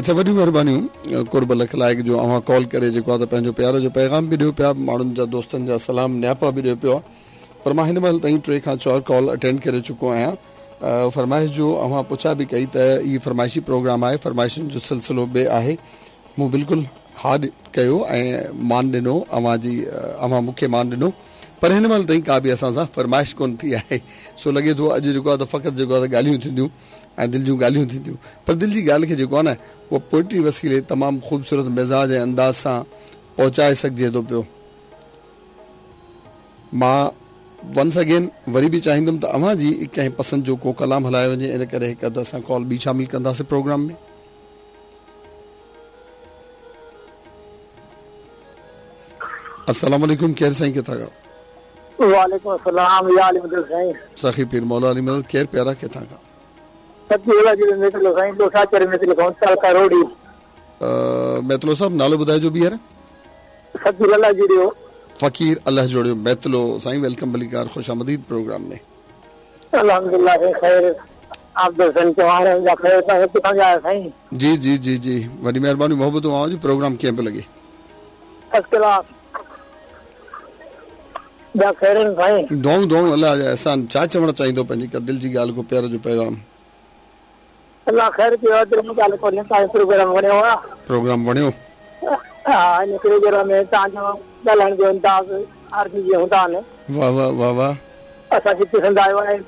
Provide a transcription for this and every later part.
اڇا وڏيون مهربانيون قرب لک لائق جو اوهان ڪال ڪري جيڪو آ ته پنهنجو پيار جو پيغام به ڏيو پيا ماڻهن جا دوستن جا سلام نياپا به ڏيو پيو پر مان هن مهل تائين ٽي کان چار ڪال اٽينڊ ڪري چڪو آهيان فرمائش جو اوهان پڇا به ڪئي ته هي فرمائشي پروگرام آهي فرمائشن جو سلسلو به آهي مون بلڪل ها ڪيو ۽ مان ڏنو اوهان جي اوهان مون کي مان ڏنو پر هن مهل تائين ڪا به اسان سان فرمائش ڪونه ٿي آهي سو لڳي ٿو اڄ جيڪو آهي ته فقط جيڪو آهي ته ڳالهيون ٿينديون ۽ دل جون ڳالهيون ٿينديون پر دل جي ڳالهه کي جيڪو آهي نه اها پوئٽري وسيلي تمام خوبصورت مزاج ۽ انداز سان پهچائي سگهجي ٿو پيو. مان ونس اگين وري به چاهيندم ته اوهان جي ڪنهن پسند جو ڪو ڪلام هلايو وڃي ان ڪري هڪ اڌ اسان ڪال ٻي شامل ڪنداسين پروگرام ۾. السلام عليڪم ڪير سائين ڪٿان کان. وعليڪم السلام يا علي مدد سائين. سخي پير مولا علي مدد ڪير پيارا ڪٿان کان. فقير الله جوڙيو ميتلو سائين ڏوساچر ميتلو کان تعلقه روهڙي. ميتلو صاحب نالو ٻڌائجو ٻيهر. فقير الله جوڙيو. فقير الله جوڙيو ميتلو سائين welcome ڀليڪار خوش آمديد پروگرام ۾. الحمدلله سائين خير آپ دوستن چوان جا خير تان ڪٿان جا آهيو سائين. جي جي جي جي وڏي مهرباني محبتون اوهان جون پروگرام ڪيئن پيو لڳي. فرسٽ ڪلاس ٻيا خير آهن سائين. دعائون دعائون الله جا احسان ڇا چوڻ چاهيندو پنهنجي ڪا دل جي ڳالهه ڪو پيار جو پيغام. الله خير ڪيو آ دل جي ڳالهه ڪونهي تان جو پروگرام وڻيو آ. پروگرام وڻيو. ها ان پروگرام ۾ تان جو ڳالهائڻ جو انداز عارضي جيئن هوندا آهن. واه واه واه واه. اسان کي پسند آيو آهي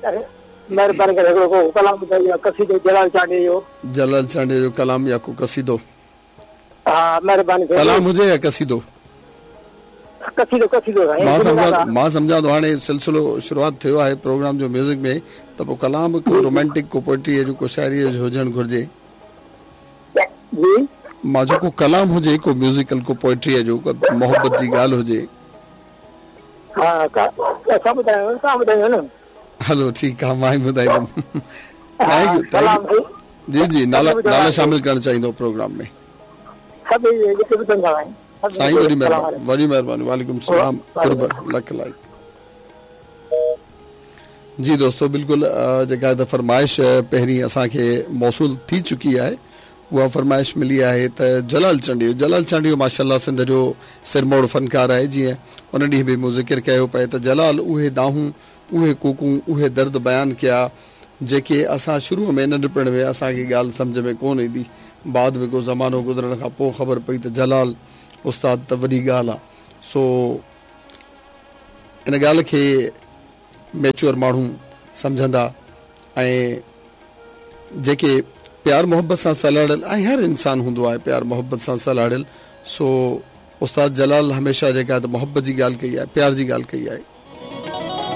مهرباني ڪري هڪڙو ڪو ڪلام ٻڌايو يا قصيدو جلال چانڊيي جو. جلال چانڊيي جو ڪلام يا ڪو قصيدو. ها مهرباني ٿيندي. ڪلام هجي يا قصيدو؟ قصيدو قصيدو سائين. مان سمجهان مان سمجهان ٿو هاڻي سلسلو شروعات ٿيو آهي پروگرام جو ميوزڪ ۾ ته پوء ڪلام ڪو رومانٽڪ ڪو پوئٽري جو ڪو شاعري جو هجڻ گهرجي. جي. مان چيو ڪو ڪلام هجي ڪو ميوزيڪل ڪو پوئٽري جو ڪو محبت جي ڳالهه هجي. ها اسان ٻڌايو توهان ٻڌايو نه. هلو ٺيڪ آ مان ئي ٻڌائيندم. Thank you thank you. جي جي نالا نالا شامل ڪرڻ چاهيندو پروگرام ۾. سائين وڏي مهرباني وڏي مهرباني وعليڪم السلام قرب لک لائق جي دوستو بلڪل جيڪا ته فرمائش پهرين اسان کي موصول ٿي چڪي آهي اها فرمائش ملي آهي ته جلال چانڊيو جلال چانڊيو ماشاءالله سنڌ جو سرموڙ فنڪار آهي جيئن ان ڏينهن به مون ذڪر ڪيو پئي ته جلال اهي دانهون اهي ڪوڪون اهي درد بيان ڪيا جيڪي اسان شروع ۾ ننڍپڻ ۾ اسان کي ڳالهه سمجهه ۾ ڪونه ايندي. بعد ۾ ڪو زمانو گذرڻ کان پوء خبر پئي ته جلال استاد ته وڏي ڳالهه آ. سو ان ڳالهه کي ميچوئر ماڻهو سمجهندا ۽ جيڪي پيار محبت سان سلهاڙيل ۽ هر انسان هوندو آهي پيار محبت سان سلهاڙيل سو استاد جلال هميشه جيڪا ته محبت جي ڳالهه ڪئي آهي پيار جي ڳالهه ڪئي آهي.